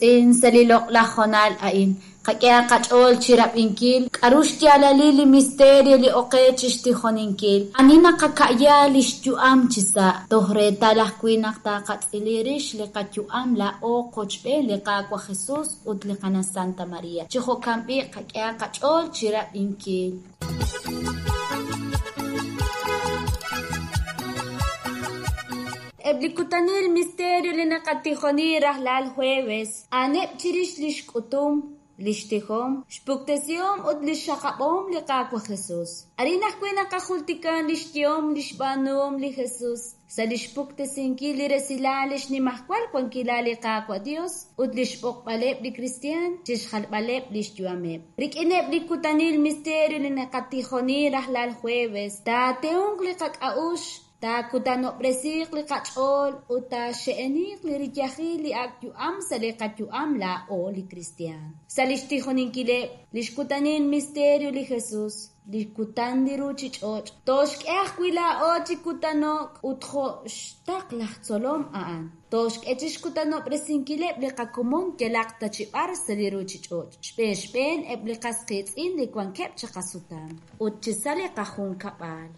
Qiitz'in sa' li loq'laj hoonal a'in, qak'ehaq qach'ool chi rab'inkil k'aru xyaalalil li misterio li ok qe chi xtijoninkil, ani naqaka'ya li xyu'am chisa', toj reetal ajwi' naq taaqatz'ili rix li qayu'am laa'o qochb'een li Qaawa' Jesus ut li Qana' Santa Maria. Chi jo'kan b'i' qak'ehaq qach'ool chi rab'inkil. Eb' li kutanil misterio li naqatijoni rajlal jueves, a'aneb' chirix li xk'utum, li xtijom, xpuktesihom ut li xxaqab'ahom li Qaawa' Jesus. Arin ajwi' naqajultika li xyehom li xb'aanuhom li Jesus sa' li xpuktesinkil li resilal li xnimajwal wankilal li Qaawa' Dios ut li xb'oqb'aleb' li kristiaan chixjalb'aleb' li xyu'ameb'. Rik'ineb' li kutanil misterio li naqatijoni rajlal jueves, taatehonq li qak'a'uxl, taakutanob'resiiq li qach'ool ut taaxe'eniiq li riyajil li ak' yu'am sa' li qayu'am laa'o li kristiaan. Sa' li xtijoninkileb' li xkutanil misterio li Jesus, li kutan li ruuchich'och', tooxk'e ajwi' laa'o chi kutano'k ut jo' xtaql laj tzolom a'an. Tooxk'e chi xkutanob'resinkileb' li qakomon yalaq ta chi b'ar sa' li ruuchich'och', xb'een xb'een eb' li qas qiitz'in li wankeb' chiqasutam ut chisa' li qajunkab'al.